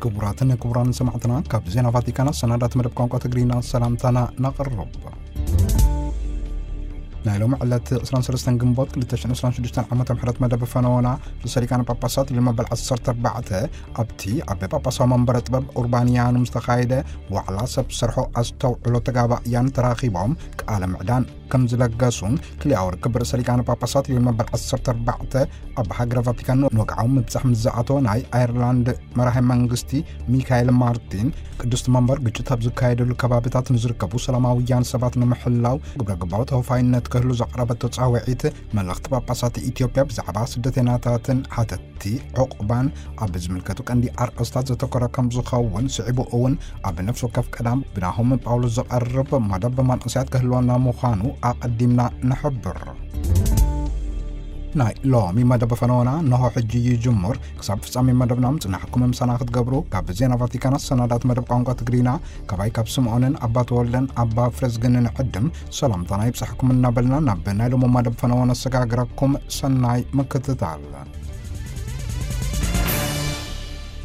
ክቡራትን ክቡራን ሰማዕትና፣ ካብ ዜና ቫቲካን ኣሰናዳት መደብ ቋንቋ ትግርኛ ሰላምታና ነቕርብ። ናይ ሎሚ ዕለት ዕስራን ሰለስተን ግንቦት ክልተ ሽሕን ዕስራን ሽዱሽተን ዓመተ ምህረት መደብ ፈነወና ርእሰ ሊቃነ ጳጳሳት ሊዮ መበል ዓሰርተ ኣርባዕተ ኣብቲ ኣብ ጳጳሳዊ መንበረ ጥበብ ኡርባንያኑም ዝተኻየደ ዋዕላ ሰብ ሰርሖ ኣስተውዕሎ ተጋባእያን ተራኺቦም ቃለ ምዕዳን ከም ዝለገሱን ክልኣዊ ርክብ ርእሰ ሊቃነ ጳጳሳት ሊዮ መበል ዓሰርተ ኣርባዕተ ኣብ ሃገረ ቫቲካን ወግዓዊ ምብጻሕ ምስ ዝኣተወ ናይ ኣየርላንድ መራሒ መንግስቲ ሚካኤል ማርቲን፣ ቅድስቲ መንበር ግጭት ኣብ ዝካየደሉ ከባቢታት ንዝርከቡ ሰላማውያን ሰባት ንምሕላው ግብረ ገባዊ ተወፋይነት ክህሉ ዘቕረበቶ ጻውዒት፣ መልእኽቲ ጳጳሳት ኢትዮጵያ ብዛዕባ ስደተኛታትን ሓተትቲ ዑቕባን ኣብ ዝምልከቱ ቀንዲ ኣርእስታት ዘተኮረ ከም ዝኸውን ስዒቡ እውን ኣብ ነፍሲ ወከፍ ቀዳም ብናሆም ጳውሎስ ዝቐርብ መደብ መንእሰያት ክህልወና ምዃኑ ኣቐዲምና ንሕብር። ናይ ሎሚ መደብ ፈነወና ነሆ ሕጂ ይጅምር። ክሳብ ፍጻሜ መደብና ምጽናሕኩም ምሳና ክትገብሩ ካብ ዜና ቫቲካን ኣሰናዳት መደብ ቋንቋ ትግርኛ ካባይ ካብ ስምዖንን ኣባ ተወልደን ኣባ ፍረዝግንን ዕድም ሰላምታና ይብጻሕኩም እናበልና ናብ ናይ ሎሚ መደብ ፈነወ ነሰጋግረኩም። ሰናይ ምክትታል።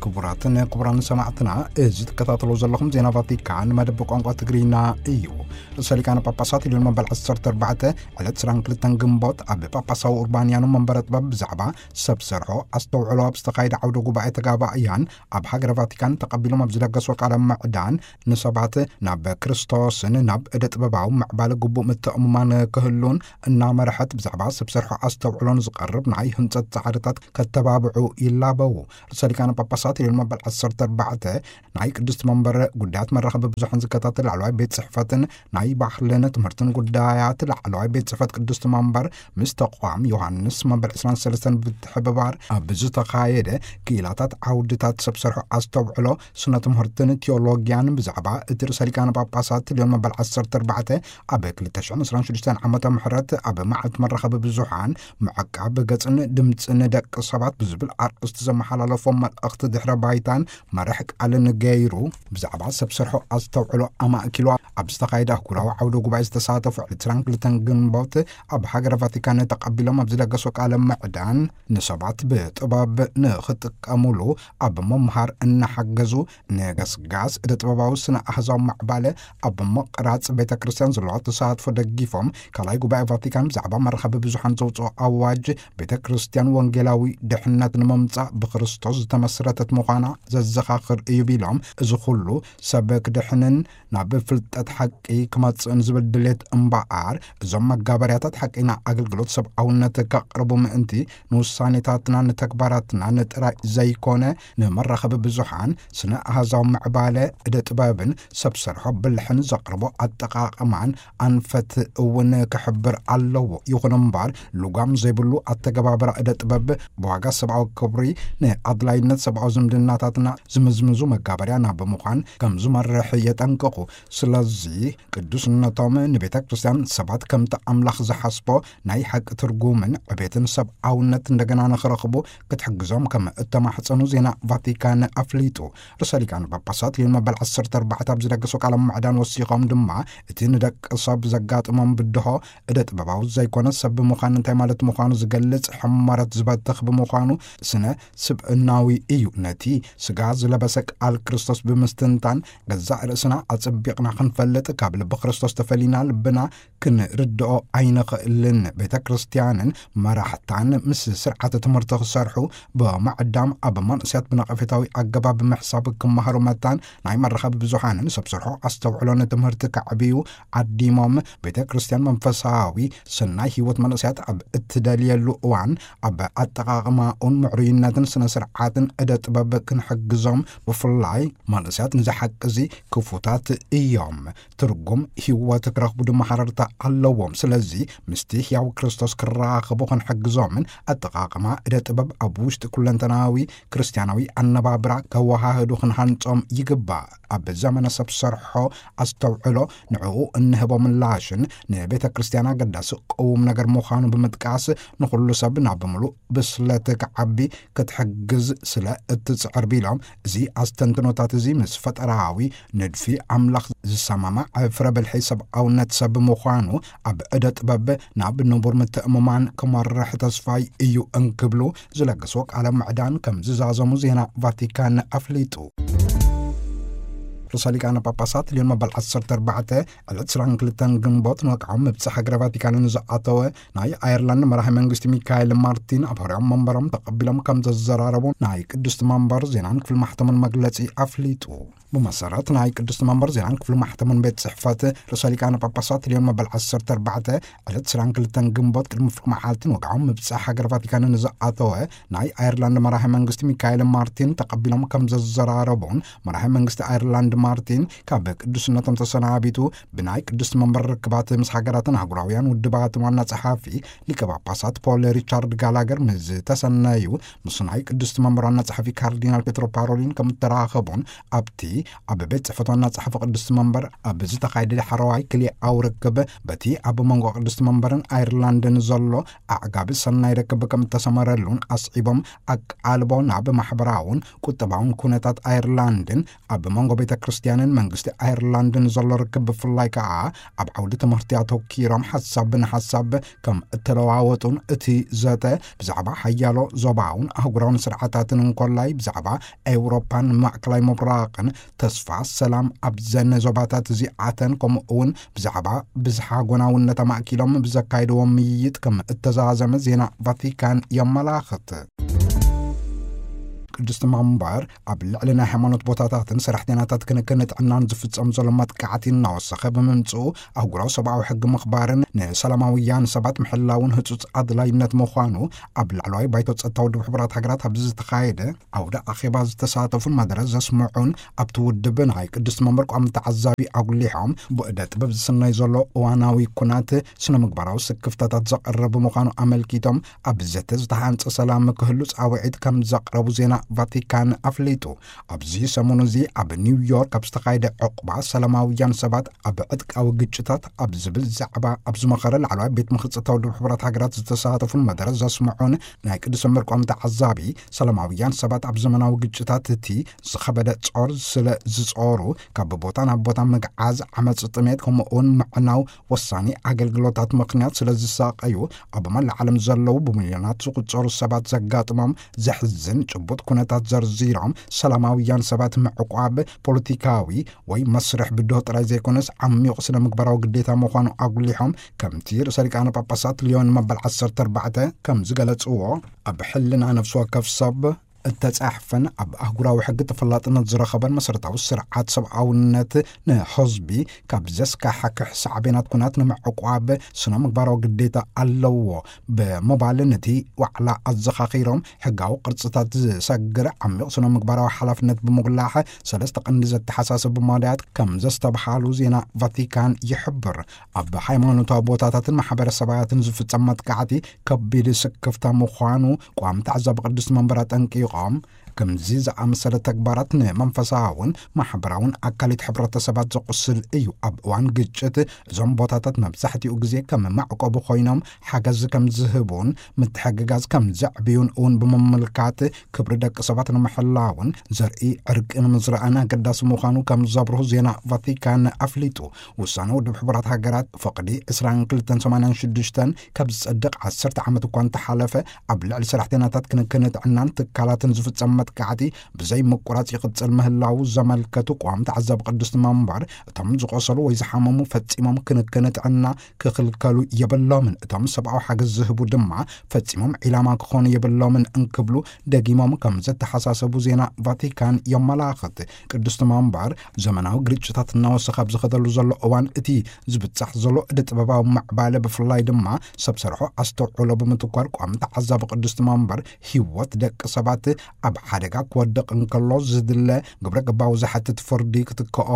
ክቡራትን ክቡራን ሰማዕትና፣ እዚ ትከታተሉ ዘለኹም ዜና ቫቲካን መደብ ቋንቋ ትግርኛ እዩ። ርእሰ ሊቃነ ጳጳሳት ሊዮን መበል ዓሰርተ ኣርባዕተ ዕለት ዕስራን ክልተን ግንቦት ኣብ ጳጳሳዊ ኡርባንያኑ መንበረ ጥበብ ብዛዕባ ሰብ ሰርሖ ኣስተውዕሎ ኣብ ዝተኻየደ ዓውደ ጉባኤ ተጋባእያን ኣብ ሃገረ ቫቲካን ተቐቢሎም ኣብ ዝለገስዎ ቃለ ምዕዳን ንሰባት ናብ ክርስቶስን ናብ እደ ጥበባዊ ምዕባለ ግቡእ ምትእምማን ክህሉን እናመርሐት ብዛዕባ ሰብ ሰርሖ ኣስተውዕሎን ዝቐርብ ናይ ህንጸት ጻዕርታት ከተባብዑ ይላበዉ። ርእሰ ሊቃነ ጳጳሳት ሊዮን መበል ዓሰርተ ኣርባዕተ ናይ ቅድስቲ መንበር ጉዳያት መራኸቢ ብዙሓን ዝከታተል ላዕለዋይ ቤት ጽሕፈትን ናይ ባህልን ትምህርትን ጉዳያት ላዕለዋይ ቤት ጽሕፈት ቅድስቲ መንበር ምስ ተቋም ዮሃንስ መበል ዕስራን ሰለስተን ብትሕብባር ኣብ ዝተኻየደ ክኢላታት ዓውድታት ሰብ ሰርሖ ኣስተውዕሎ ስነ ትምህርትን ቴዎሎጊያን ብዛዕባ እቲ ርእሰ ሊቃነ ጳጳሳት ሊዮን መበል ዓሰርተ ኣርባዕተ ኣብ ክልተ ሽሕን ዕስራን ሽዱሽተን ዓመተ ምህረት ኣብ መዓልቲ መራኸቢ ብዙሓን ምዕቃብ ገጽን ድምጽን ደቂ ሰባት ብዝብል ኣርእስቲ ዘመሓላለፎም መልእኽቲ ድሕረ ባይታን መርሕ ቃልን ገይሩ፣ ብዛዕባ ሰብ ሰርሖ ኣስተውዕሎ ኣማእኪሉ ኣብ ዝተኻየደ ኣህጉራዊ ዓውደ ጉባኤ ዝተሳተፉ ዕለት ዕስራን ክልተን ግንቦት ኣብ ሃገረ ቫቲካን ተቐቢሎም ኣብ ዝለገሶ ቃለ ምዕዳን፣ ንሰባት ብጥበብ ንኽጥቀሙሉ ኣብ ምምሃር እናሓገዙ፣ ንገስጋስ እደ ጥበባዊ ስነ ኣህዛዊ ማዕባለ ኣብ ምቕራጽ ቤተ ክርስቲያን ዘለዎ ተሳትፎ ደጊፎም፣ ካልኣይ ጉባኤ ቫቲካን ብዛዕባ መራኸቢ ብዙሓን ዘውፅኦ ኣዋጅ፣ ቤተ ክርስቲያን ወንጌላዊ ድሕነት ንምምጻእ ብክርስቶስ ዝተመስረተት ምዃና ዘዘኻኽር እዩ ቢሎም፣ እዚ ኩሉ ሰብ ክድሕንን ናብ ፍልጠት ሓቂ ክመጽእን ዝብል ድሌት እምበኣር፣ እዞም መጋበርያታት ሓቂና ኣገልግሎት ሰብኣውነት ከቕርቡ ምእንቲ ንውሳኔታትና ንተግባራትናን ጥራይ ዘይኮነ፣ ንመራኸቢ ብዙሓን፣ ስነ ኣሃዛዊ ምዕባለ፣ እደ ጥበብን ሰብ ሰርሖ ብልሕን ዘቕርቦ ኣጠቓቕማን ኣንፈት እውን ክሕብር ኣለዎ። ይኹን እምበር፣ ልጓም ዘይብሉ ኣተገባብራ እደ ጥበብ ብዋጋ ሰብኣዊ ክብሪ፣ ንኣድላይነት ሰብኣዊ ዝምድናታትና ዝምዝምዙ መጋበርያ ናብ ምዃን ከም ዝመርሕ የጠንቅቑ። ስለዚ፣ ቅዱስነቶም ንቤተ ክርስቲያን ሰባት ከምቲ ኣምላኽ ዝሓስቦ ናይ ሓቂ ትርጉምን ዕቤትን ሰብኣውነት እንደገና ንኽረኽቡ ክትሕግዞም ከም እተማሕጸኑ ዜና ቫቲካን ኣፍሊጡ። ርእሰ ሊቃነ ጳጳሳት ሊዮን መበል ዓሰርተ ኣርባዕተ ኣብ ዝደገሶ ቃለ ምዕዳን ወሲኾም ድማ፣ እቲ ንደቂ ሰብ ዘጋጥሞም ብድሆ እደ ጥበባዊ ዘይኮነ ሰብ ብምዃን እንታይ ማለት ምዃኑ ዝገልጽ ሕመረት ዝበትኽ ብምዃኑ፣ ስነ ስብእናዊ እዩ። ነቲ ስጋ ዝለበሰ ቃል ክርስቶስ ብምስትንታን፣ ገዛእ ርእስና ኣጸቢቕና ክንፈልጥ፣ ካብ ልቢ ክርስቶስ ተፈሊና ልብና ክንርድኦ ኣይንኽእልን። ቤተ ክርስቲያንን መራሕታን ምስ ስርዓተ ትምህርቲ ክሰርሑ፣ ብምዕዳም ኣብ መንእሰያት ብነቐፌታዊ ኣገባብ ምሕሳብ ክመሃሩ መታን፣ ናይ መራኸቢ ብዙሓንን ሰብ ሰርሖ ኣስተውዕሎን ትምህርቲ ከዕብዩ ዓዲሞም፣ ቤተ ክርስቲያን መንፈሳዊ ሰናይ ህይወት መንእሰያት ኣብ እትደልየሉ እዋን፣ ኣብ ኣጠቓቕማኡን ምዕሩይነትን ስነ ስርዓትን እደ ጥበብ ክንሕግዞም፣ ብፍላይ መንእሰያት ንዚ ሓቂ እዚ ክፉታት እዮም። ትርጉም ህይወት ክረኽቡ ድማ ሓረርታ ኣለዎም። ስለዚ ምስቲ ሕያው ክርስቶስ ክራኸቡ ክንሕግዞምን ኣጠቓቕማ እደ ጥበብ ኣብ ውሽጢ ኩለንተናዊ ክርስቲያናዊ ኣነባብራ ከወሃህዱ ክንሃንጾም ይግባእ። ኣብ ዘመነ ሰብ ሰርሖ ኣስተውዕሎ ንዕኡ እንህቦ ምላሽን ንቤተ ክርስቲያን ኣገዳሲ ቅዉም ነገር ምዃኑ ብምጥቃስ፣ ንኹሉ ሰብ ናብ ምሉእ ብስለት ክዓቢ ክትሕግዝ ስለ እትጽዕር ቢሎም፣ እዚ ኣስተንትኖታት እዚ ምስ ፈጠራዊ ንድፊ ኣምላኽ ዝሰማማዕ ፍረ ብልሒ ሰብኣውነት ሰብ ምዃኑ ኣብ እደ ጥበብ ናብ ንቡር ምትእምማን ክመርሕ ተስፋይ እዩ እንክብሉ ዝለገስዎ ቃለ ምዕዳን ከም ዝዛዘሙ ዜና ቫቲካን ኣፍሊጡ። ርእሰ ሊቃነ ጳጳሳት ሊዮን መበል ዓሰርተ ኣርባዕተ ዕለት ዕስራን ክልተን ግንቦት ንወግዓዊ ምብጻሕ ሃገረ ቫቲካን ንዝኣተወ ናይ ኣየርላንድ መራሒ መንግስቲ ሚካኤል ማርቲን ኣብ ሕርያም መንበሮም ተቐቢሎም ከም ዘዘራረቡ ናይ ቅድስቲ መንበር ዜናን ክፍሊ ማሕተምን መግለጺ ኣፍሊጡ። ብመሰረት ናይ ቅድስቲ መንበር ዜናን ክፍሊ ማሕተምን ቤት ጽሕፈት ርእሰ ሊቃነ ጳጳሳት ሊዮን መበል ዓሰርተ ኣርባዕተ ዕለት ዕስራን ክልተን ግንቦት ቅድሚ ፍርቂ መዓልቲ ንወግዓዊ ምብጻሕ ሃገረ ቫቲካን ንዝኣተወ ናይ ኣየርላንድ መራሒ መንግስቲ ሚካኤል ማርቲን ተቐቢሎም ከም ዘዘራረቡን መራሒ መንግስቲ ኣየርላንድ ማርቲን ካብ ቅዱስነቶም ተሰናቢቱ ብናይ ቅዱስ መንበር ርክባት ምስ ሃገራትን ኣህጉራውያን ውድባትን ዋና ጸሓፊ ሊቀ ጳጳሳት ፖል ሪቻርድ ጋላገር ምስ ተሰነዩ፣ ምስ ናይ ቅዱስ መንበር ዋና ጸሓፊ ካርዲናል ፔትሮ ፓሮሊን ከም እተራኸቡን ኣብቲ ኣብ ቤት ጽሕፈት ዋና ጸሓፊ ቅዱስ መንበር ኣብ ዝተኻየደ ዳሕረዋይ ክልኤኣዊ ርክብ በቲ ኣብ መንጎ ቅዱስ መንበርን ኣየርላንድን ዘሎ ኣዕጋቢ ሰናይ ርክብ ከም እተሰመረሉን ኣስዒቦም፣ ኣቃልቦ ናብ ማሕበራውን ቁጠባውን ኩነታት ኣየርላንድን ኣብ መንጎ ቤተ ክርስቲያንን መንግስቲ ኣየርላንድን ዘሎ ርክብ፣ ብፍላይ ከኣ ኣብ ዓውዲ ትምህርቲ ኣተኪሮም ሓሳብ ንሓሳብ ከም እተለዋወጡን፣ እቲ ዘተ ብዛዕባ ሓያሎ ዞባውን ኣህጉራውን ስርዓታትን እንኮላይ ብዛዕባ ኤውሮፓን ማእከላይ ምብራቕን፣ ተስፋ ሰላም ኣብዘን ዞባታት እዚኣተን፣ ከምኡ እውን ብዛዕባ ብዝሓ ጎናውነት ኣማእኪሎም ብዘካየድዎ ምይይጥ ከም እተዛዘመ ዜና ቫቲካን የመላኽት። ቅድስቲ መንበር ኣብ ልዕሊ ናይ ሃይማኖት ቦታታትን ሰራሕተኛታት ክንክን ጥዕናን ዝፍጸም ዘሎ መጥቃዕቲ እናወሰኸ ብምምጽኡ፣ ኣህጉራዊ ሰብኣዊ ሕጊ ምኽባርን ንሰላማውያን ሰባት ምሕላውን ህጹጽ ኣድላይነት ምዃኑ ኣብ ላዕለዋይ ባይቶ ጸጥታ ውድብ ሕቡራት ሃገራት ኣብዚ ዝተኻየደ ዓውደ ኣኼባ ዝተሳተፉን መደረ ዘስምዑን ኣብቲ ውድብ ናይ ቅድስቲ መንበር ቋሚ ተዓዛቢ ኣጉሊሖም፣ ብእደ ጥበብ ዝስነይ ዘሎ እዋናዊ ኩናት ስነ ምግባራዊ ስክፍታታት ዘቕርብ ምዃኑ ኣመልኪቶም፣ ኣብ ዘተ ዝተሃንጸ ሰላም ክህሉ ጻውዒት ከም ዘቕረቡ ዜና ቫቲካን ኣፍሊጡ። ኣብዚ ሰሙን እዚ ኣብ ኒውዮርክ ኣብ ዝተኻየደ ዕቑባ ሰላማውያን ሰባት ኣብ ዕጥቃዊ ግጭታት ኣብ ዝብል ዛዕባ ኣብ ዝመኸረ ላዕለዋይ ቤት ምኽሪ ጸጥታ ውድብ ሕቡራት ሃገራት ዝተሳተፉን መደረ ዘስምዑን ናይ ቅዱስ መንበር ቋሚ ተዓዛቢ፣ ሰላማውያን ሰባት ኣብ ዘመናዊ ግጭታት እቲ ዝኸበደ ጾር ስለ ዝጾሩ፣ ካብ ቦታ ናብ ቦታ ምግዓዝ፣ ዓመጽ፣ ጥሜት፣ ከምኡ እውን ምዕናው ወሳኒ ኣገልግሎታት ምኽንያት ስለ ዝሳቐዩ፣ ኣብ መላእ ዓለም ዘለዉ ብሚልዮናት ዝቑጸሩ ሰባት ዘጋጥሞም ዘሕዝን ጭቡጥ ኩነታት ዘርዚሮም፣ ሰላማውያን ሰባት ምዕቋብ ፖለቲካዊ ወይ መስርሕ ብድሆ ጥራይ ዘይኮነስ፣ ዓሚቕ ስነ ምግባራዊ ግዴታ ምዃኑ ኣጉሊሖም፣ ከምቲ ርእሰ ሊቃነ ጳጳሳት ሊዮን መበል ዓሰርተ ኣርባዕተ ከም ዝገለጽዎ፣ ኣብ ሕልና ነፍሲ ወከፍ ሰብ እተጻሕፈን ኣብ ኣህጉራዊ ሕጊ ተፈላጥነት ዝረኸበን መሰረታዊ ስርዓት ሰብኣውነት፣ ንህዝቢ ካብ ዘስካሕክሕ ሳዕቤናት ኩናት ንምዕቋብ ስነ ምግባራዊ ግዴታ ኣለዎ ብምባል፣ ነቲ ዋዕላ ኣዘኻኺሮም፣ ሕጋዊ ቅርጽታት ዝሰግር ዓሚቕ ስነ ምግባራዊ ሓላፍነት ብምጉላሕ፣ ሰለስተ ቀንዲ ዘተሓሳስቡ መዳያት ከም ዘስተብሃሉ ዜና ቫቲካን ይሕብር። ኣብ ሃይማኖታዊ ቦታታትን ማሕበረሰባትን ዝፍጸም መጥቃዕቲ ከቢድ ስክፍታ ምዃኑ ቋሚ ተዓዛቢ ቅድስቲ መንበር ኣጠንቂቖም፣ ከምዚ ዝኣመሰለ ተግባራት ንመንፈሳውን ማሕበራውን ኣካሊት ሕብረተሰባት ዘቑስል እዩ። ኣብ እዋን ግጭት እዞም ቦታታት መብዛሕትኡ ግዜ ከም መዕቆቢ ኮይኖም ሓገዝ ከም ዝህቡን ምትሕግጋዝ ከም ዘዕብዩን እውን ብምምልካት፣ ክብሪ ደቂ ሰባት ንምሕላውን ዘርኢ ዕርቂ ንምዝራእን ኣገዳሲ ምዃኑ ከም ዘብርሁ ዜና ቫቲካን ኣፍሊጡ። ውሳነ ውድብ ሕቡራት ሃገራት ፍቕዲ ዕስራን ክልተን ሰማንያን ሽዱሽተን ካብ ዝጸድቕ ዓሰርተ ዓመት እኳ እንተሓለፈ፣ ኣብ ልዕሊ ሰራሕተኛታት ክንክን ጥዕናን ትካላትን ዝፍጸም መጥቃዕቲ ብዘይ ምቁራጽ ይቕጽል ምህላዉ ዘመልከቱ ቋሚ ተዓዛቢ ቅድስቲ መንበር፣ እቶም ዝቖሰሉ ወይ ዝሓመሙ ፈጺሞም ክንክን ጥዕና ክኽልከሉ የብሎምን፣ እቶም ሰብኣዊ ሓገዝ ዝህቡ ድማ ፈጺሞም ዒላማ ክኾኑ የብሎምን እንክብሉ ደጊሞም ከም ዘተሓሳሰቡ ዜና ቫቲካን የመላኽት። ቅድስቲ መንበር፣ ዘመናዊ ግርጭታት እናወሰኸ ኣብ ዝኸደሉ ዘሎ እዋን፣ እቲ ዝብጻሕ ዘሎ እደ ጥበባዊ ምዕባለ፣ ብፍላይ ድማ ሰብ ሰርሖ ኣስተውዕሎ ብምትኳር፣ ቋሚ ተዓዛቢ ቅድስቲ መንበር፣ ህይወት ደቂ ሰባት ኣብ ሓደጋ ክወድቕ እንከሎ ዝድለ ግብረ ገባዊ ዝሓትት ፍርዲ ክትክኦ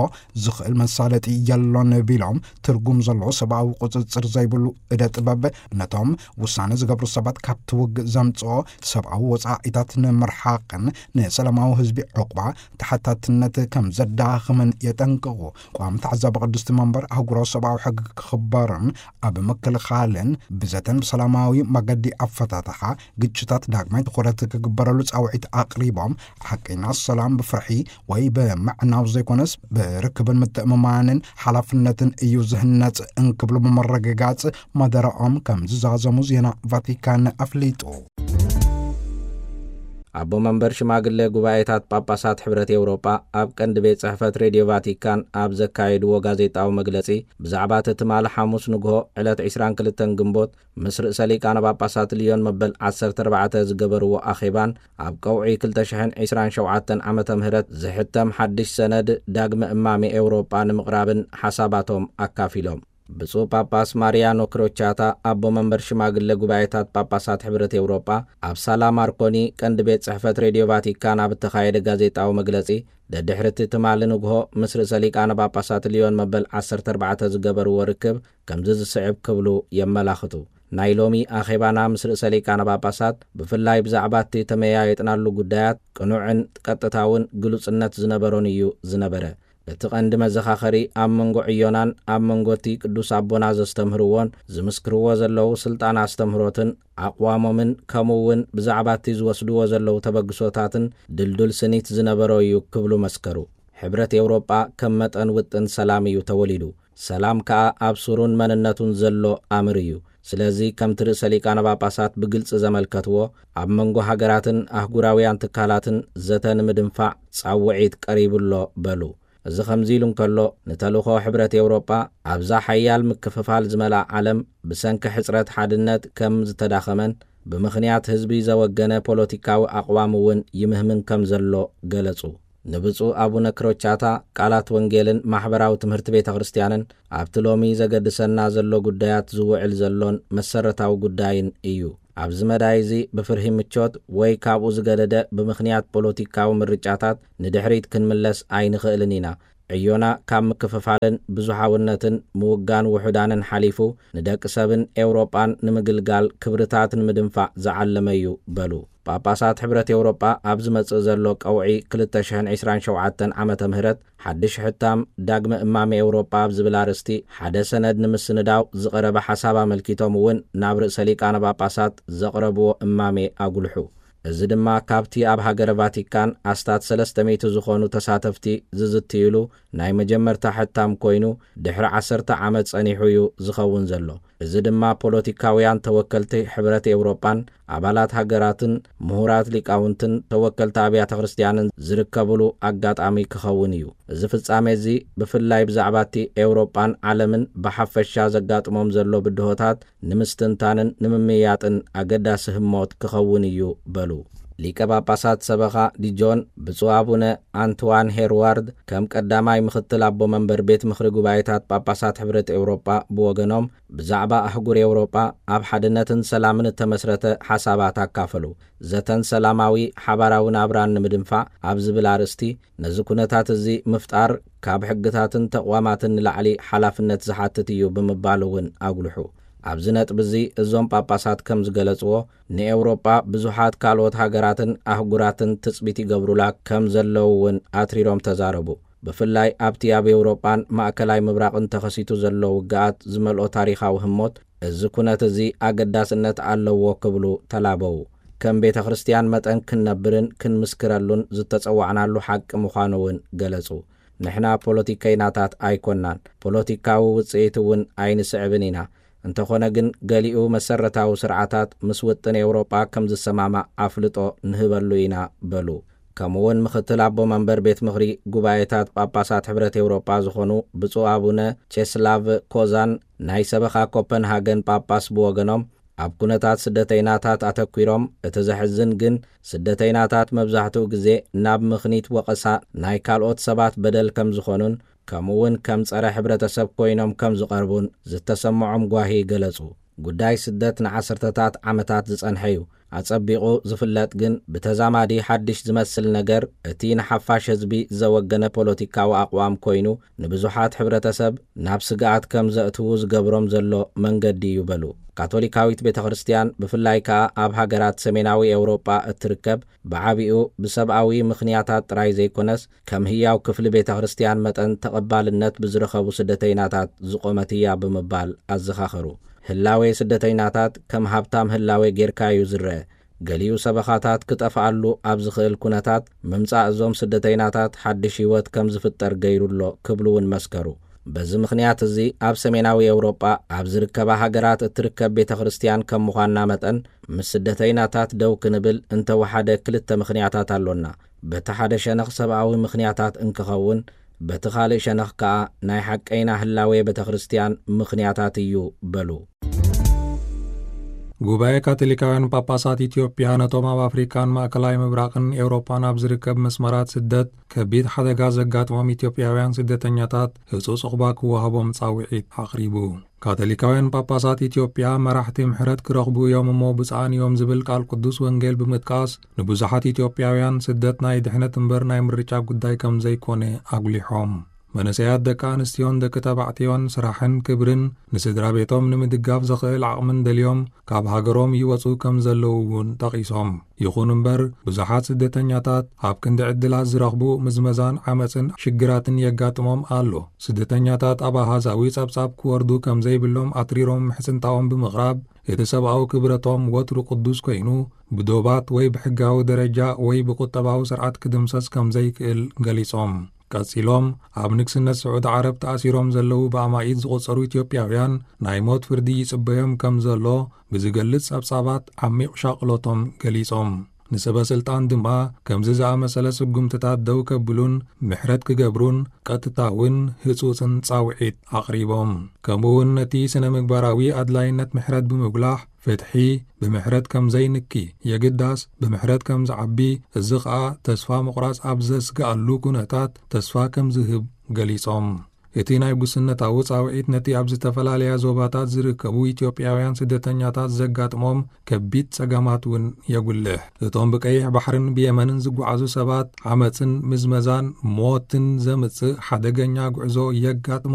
ዝኽእል መሳለጢ የሎን ቢሎም፣ ትርጉም ዘለዎ ሰብኣዊ ቁጽጽር ዘይብሉ እደ ጥበብ ነቶም ውሳነ ዝገብሩ ሰባት ካብቲ ውግእ ዘምጽኦ ሰብኣዊ ወጻኢታት ንምርሓቕን ንሰላማዊ ህዝቢ ዕቑባ ተሓታትነት ከም ዘዳኽምን የጠንቅቑ። ቋሚ ተዓዛቢ ቅድስቲ መንበር፣ ኣህጉራዊ ሰብኣዊ ሕጊ ክኽበርን ኣብ ምክልኻልን ብዘተን ብሰላማዊ መገዲ ኣፈታትሓ ግጭታት ዳግማይ ትኹረት ክግበረሉ ጻውዒት ኣቕሪቦም፣ ሓቀኛ ሰላም ብፍርሒ ወይ ብምዕናው ዘይኮነስ፣ ብርክብን ምትእምማንን ሓላፍነትን እዩ ዝህነጽ እንክብሉ ብምርግጋጽ፣ መደረኦም ከም ዝዛዘሙ ዜና ቫቲካን ኣፍሊጡ። ኣቦ መንበር ሽማግለ ጉባኤታት ጳጳሳት ሕብረት ኤውሮጳ ኣብ ቀንዲ ቤት ጽሕፈት ሬድዮ ቫቲካን ኣብ ዘካየድዎ ጋዜጣዊ መግለጺ፣ ብዛዕባ እቲ ትማሊ ሓሙስ ንግሆ ዕለት ዕስራን ክልተን ግንቦት ምስ ርእሰ ሊቃነ ጳጳሳት ልዮን መበል ዓሰርተ ኣርባዕተ ዝገበርዎ ኣኼባን ኣብ ቀውዒ ክልተ ሽሕን ዕስራን ሸውዓተን ዓመተ ምህረት ዝሕተም ሓድሽ ሰነድ ዳግመ እማሜ ኤውሮጳ ንምቕራብን ሓሳባቶም ኣካፊሎም። ብፁዕ ጳጳስ ማሪያኖ ክሮቻታ፣ ኣቦ መንበር ሽማግለ ጉባኤታት ጳጳሳት ሕብረት ኤውሮጳ፣ ኣብ ሳላ ማርኮኒ ቀንዲ ቤት ጽሕፈት ሬድዮ ቫቲካን ኣብ እተኻየደ ጋዜጣዊ መግለጺ፣ ደድሕሪ እቲ ትማሊ ንግሆ ምስ ርእሰ ሊቃነ ጳጳሳት ልዮን መበል ዓሰርተ ኣርባዕተ ዝገበርዎ ርክብ ከምዚ ዝስዕብ ክብሉ የመላኽቱ። ናይ ሎሚ ኣኼባና ምስ ርእሰ ሊቃነ ጳጳሳት፣ ብፍላይ ብዛዕባ እቲ ተመያየጥናሉ ጉዳያት፣ ቅኑዕን ቀጥታውን ግሉጽነት ዝነበሮን እዩ ዝነበረ። እቲ ቀንዲ መዘኻኸሪ ኣብ መንጎ ዕዮናን ኣብ መንጎ እቲ ቅዱስ ኣቦና ዘስተምህርዎን ዝምስክርዎ ዘለዉ ስልጣን ኣስተምህሮትን ኣቕዋሞምን፣ ከምኡ እውን ብዛዕባ እቲ ዝወስድዎ ዘለዉ ተበግሶታትን ድልዱል ስኒት ዝነበሮ እዩ ክብሉ መስከሩ። ሕብረት ኤውሮጳ ከም መጠን ውጥን ሰላም እዩ ተወሊዱ። ሰላም ከኣ ኣብ ሱሩን መንነቱን ዘሎ ኣምር እዩ። ስለዚ ከምቲ ርእሰ ሊቃነ ጳጳሳት ብግልጺ ዘመልከትዎ፣ ኣብ መንጎ ሃገራትን ኣህጉራውያን ትካላትን ዘተ ንምድንፋዕ ጻውዒት ቀሪቡ ኣሎ በሉ። እዚ ከምዚ ኢሉ እንከሎ፣ ንተልእኾ ሕብረት ኤውሮጳ ኣብዛ ሓያል ምክፍፋል ዝመልኣ ዓለም ብሰንኪ ሕጽረት ሓድነት ከም ዝተዳኸመን ብምኽንያት ህዝቢ ዘወገነ ፖለቲካዊ ኣቕዋም እውን ይምህምን ከም ዘሎ ገለጹ። ንብፁዕ ኣቡነ ክሮቻታ፣ ቃላት ወንጌልን ማሕበራዊ ትምህርቲ ቤተ ክርስቲያንን ኣብቲ ሎሚ ዘገድሰና ዘሎ ጉዳያት ዝውዕል ዘሎን መሰረታዊ ጉዳይን እዩ። ኣብዚ መዳይ እዚ ብፍርሂ ምቾት ወይ ካብኡ ዝገደደ ብምኽንያት ፖለቲካዊ ምርጫታት ንድሕሪት ክንምለስ ኣይንኽእልን ኢና። ዕዮና ካብ ምክፍፋልን ብዙሓውነትን ምውጋን ውሑዳንን ሓሊፉ፣ ንደቂ ሰብን ኤውሮጳን ንምግልጋል ክብርታት ንምድንፋዕ ዝዓለመ እዩ በሉ። ጳጳሳት ሕብረት ኤውሮጳ ኣብ ዝመጽእ ዘሎ ቀውዒ ክልተ ሽሕን ዕስራን ሸውዓተን ዓመተ ምህረት ሓድሽ ሕታም ዳግመ እማሜ ኤውሮጳ ኣብ ዝብል ኣርእስቲ ሓደ ሰነድ ንምስንዳው ዝቐረበ ሓሳብ ኣመልኪቶም እውን ናብ ርእሰ ሊቃነ ጳጳሳት ዘቕረብዎ እማሜ ኣጉልሑ። እዚ ድማ ካብቲ ኣብ ሃገረ ቫቲካን ኣስታት ሰለስተ ሚእቲ ዝኾኑ ተሳተፍቲ ዝዝትይሉ ናይ መጀመርታ ሕታም ኮይኑ፣ ድሕሪ ዓሰርተ ዓመት ጸኒሑ እዩ ዝኸውን ዘሎ። እዚ ድማ ፖለቲካውያን ተወከልቲ ሕብረት ኤውሮጳን ኣባላት ሃገራትን ምሁራት ሊቃውንትን ተወከልቲ ኣብያተ ክርስቲያንን ዝርከብሉ ኣጋጣሚ ክኸውን እዩ። እዚ ፍጻሜ እዚ ብፍላይ ብዛዕባ እቲ ኤውሮጳን ዓለምን ብሓፈሻ ዘጋጥሞም ዘሎ ብድሆታት ንምስትንታንን ንምምያጥን ኣገዳሲ ህሞት ክኸውን እዩ በሉ። ሊቀ ጳጳሳት ሰበኻ ዲጆን ብፁዕ ኣቡነ ኣንትዋን ሄርዋርድ ከም ቀዳማይ ምኽትል ኣቦ መንበር ቤት ምኽሪ ጉባኤታት ጳጳሳት ሕብረት ኤውሮጳ ብወገኖም፣ ብዛዕባ ኣህጉር ኤውሮጳ ኣብ ሓድነትን ሰላምን እተመስረተ ሓሳባት ኣካፈሉ። ዘተን ሰላማዊ ሓባራዊ ናብራን ንምድንፋዕ ኣብ ዝብል ኣርእስቲ፣ ነዚ ኩነታት እዚ ምፍጣር ካብ ሕግታትን ተቕዋማትን ንላዕሊ ሓላፍነት ዝሓትት እዩ ብምባል እውን ኣጉልሑ። ኣብዚ ነጥቢ እዚ እዞም ጳጳሳት ከም ዝገለጽዎ፣ ንኤውሮጳ ብዙሓት ካልኦት ሃገራትን ኣህጉራትን ትጽቢት ይገብሩላ ከም ዘለዉ እውን ኣትሪሮም ተዛረቡ። ብፍላይ ኣብቲ ኣብ ኤውሮጳን ማእከላይ ምብራቕን ተኸሲቱ ዘሎ ውግኣት ዝመልኦ ታሪኻዊ ህሞት፣ እዚ ኩነት እዚ ኣገዳስነት ኣለዎ ክብሉ ተላበዉ። ከም ቤተ ክርስቲያን መጠን ክንነብርን ክንምስክረሉን ዝተጸዋዕናሉ ሓቂ ምዃኑ እውን ገለጹ። ንሕና ፖለቲከይናታት ኣይኮናን፣ ፖለቲካዊ ውጽኢት እውን ኣይንስዕብን ኢና። እንተኾነ ግን፣ ገሊኡ መሰረታዊ ስርዓታት ምስ ውጥን ኤውሮጳ ከም ዝሰማማዕ ኣፍልጦ ንህበሉ ኢና በሉ። ከምኡውን ምኽትል ኣቦ መንበር ቤት ምኽሪ ጉባኤታት ጳጳሳት ሕብረት ኤውሮጳ ዝኾኑ ብፁዕ ኣቡነ ቼስላቭ ኮዛን፣ ናይ ሰበኻ ኮፐንሃገን ጳጳስ ብወገኖም፣ ኣብ ኩነታት ስደተይናታት ኣተኲሮም፣ እቲ ዘሕዝን ግን ስደተይናታት መብዛሕትኡ ግዜ ናብ ምኽኒት ወቐሳ ናይ ካልኦት ሰባት በደል ከም ዝኾኑን፣ ከምኡውን ከም ጸረ ሕብረተሰብ ኮይኖም ከም ዝቐርቡን ዝተሰምዖም ጓሂ ገለጹ። ጉዳይ ስደት ንዓሰርተታት ዓመታት ዝጸንሐ እዩ። ኣጸቢቑ ዝፍለጥ ግን ብተዛማዲ ሓድሽ ዝመስል ነገር፣ እቲ ንሓፋሽ ህዝቢ ዘወገነ ፖለቲካዊ ኣቕዋም ኮይኑ፣ ንብዙሓት ሕብረተሰብ ናብ ስግኣት ከም ዘእትዉ ዝገብሮም ዘሎ መንገዲ እዩ በሉ። ካቶሊካዊት ቤተ ክርስቲያን፣ ብፍላይ ከኣ ኣብ ሃገራት ሰሜናዊ ኤውሮጳ እትርከብ፣ ብዓቢኡ ብሰብኣዊ ምኽንያታት ጥራይ ዘይኮነስ፣ ከም ህያው ክፍሊ ቤተ ክርስቲያን መጠን ተቐባልነት ብዝረኸቡ ስደተይናታት ዝቖመት እያ ብምባል ኣዘኻኸሩ። ህላዌ ስደተይናታት ከም ሃብታም ህላዌ ጌርካ እዩ ዝረአ። ገሊኡ ሰበኻታት ክጠፍኣሉ ኣብ ዝኽእል ኩነታት፣ ምምጻእ እዞም ስደተይናታት ሓድሽ ህይወት ከም ዝፍጠር ገይሩ ኣሎ ክብሉ እውን መስከሩ። በዚ ምኽንያት እዚ ኣብ ሰሜናዊ ኤውሮጳ ኣብ ዝርከባ ሃገራት እትርከብ ቤተ ክርስቲያን ከም ምዃንና መጠን፣ ምስ ስደተይናታት ደው ክንብል እንተወሓደ ክልተ ምኽንያታት ኣሎና። በቲ ሓደ ሸነኽ ሰብኣዊ ምኽንያታት እንክኸውን፣ በቲ ካልእ ሸነኽ ከኣ ናይ ሓቀይና ህላዌ ቤተ ክርስቲያን ምኽንያታት እዩ በሉ። ጉባኤ ካቶሊካውያን ጳጳሳት ኢትዮጵያ ነቶም ኣብ ኣፍሪካን ማእከላይ ምብራቕን ኤውሮጳን ኣብ ዝርከብ መስመራት ስደት ከቢድ ሓደጋ ዘጋጥሞም ኢትዮጵያውያን ስደተኛታት ህጹጽ ዑቕባ ክወሃቦም ጻውዒት ኣቕሪቡ። ካቶሊካውያን ጳጳሳት ኢትዮጵያ መራሕቲ ምሕረት ክረኽቡ እዮም እሞ ብፁዓን እዮም ዝብል ቃል ቅዱስ ወንጌል ብምጥቃስ፣ ንብዙሓት ኢትዮጵያውያን ስደት ናይ ድሕነት እምበር ናይ ምርጫ ጉዳይ ከም ዘይኮነ ኣጉሊሖም። መንእሰያት ደቂ ኣንስትዮን ደቂ ተባዕትዮን ስራሕን ክብርን ንስድራ ቤቶም ንምድጋፍ ዘኽእል ዓቕምን ደልዮም ካብ ሃገሮም ይወጹ ከም ዘለዉ እውን ጠቒሶም። ይኹን እምበር፣ ብዙሓት ስደተኛታት ኣብ ክንዲ ዕድላት ዝረኽቡ ምዝመዛን ዓመጽን ሽግራትን የጋጥሞም ኣሎ። ስደተኛታት ኣብ ኣሃዛዊ ጸብጻብ ክወርዱ ከም ዘይብሎም ኣትሪሮም ምሕጽንታኦም ብምቕራብ፣ እቲ ሰብኣዊ ክብረቶም ወትሩ ቅዱስ ኮይኑ፣ ብዶባት ወይ ብሕጋዊ ደረጃ ወይ ብቁጠባዊ ስርዓት ክድምሰስ ከም ዘይክእል ገሊጾም። ቀጺሎም፣ ኣብ ንግስነት ስዑዲ ዓረብ ተኣሲሮም ዘለዉ ብኣማኢት ዝቑጸሩ ኢትዮጵያውያን ናይ ሞት ፍርዲ ይጽበዮም ከም ዘሎ ብዝገልጽ ጸብጻባት ዓሚቕ ሻቕሎቶም ገሊጾም። ንሰበ ስልጣን ድማ ከምዚ ዝኣመሰለ ስጉምትታት ደው ከብሉን ምሕረት ክገብሩን ቀጥታውን ህጹጽን ጻውዒት ኣቕሪቦም። ከምኡ እውን ነቲ ስነ ምግባራዊ ኣድላይነት ምሕረት ብምጉላሕ፣ ፍትሒ ብምሕረት ከም ዘይንኪ፣ የግዳስ ብምሕረት ከም ዝዓቢ፣ እዚ ኸኣ ተስፋ ምቑራጽ ኣብ ዘስግኣሉ ኩነታት ተስፋ ከም ዝህብ ገሊጾም። እቲ ናይ ጉስነታዊ ጻውዒት ነቲ ኣብ ዝተፈላለያ ዞባታት ዝርከቡ ኢትዮጵያውያን ስደተኛታት ዘጋጥሞም ከቢድ ጸገማት እውን የጉልሕ። እቶም ብቀይሕ ባሕርን ብየመንን ዝጓዓዙ ሰባት ዓመጽን ምዝመዛን ሞትን ዘምጽእ ሓደገኛ ጉዕዞ የጋጥሞም።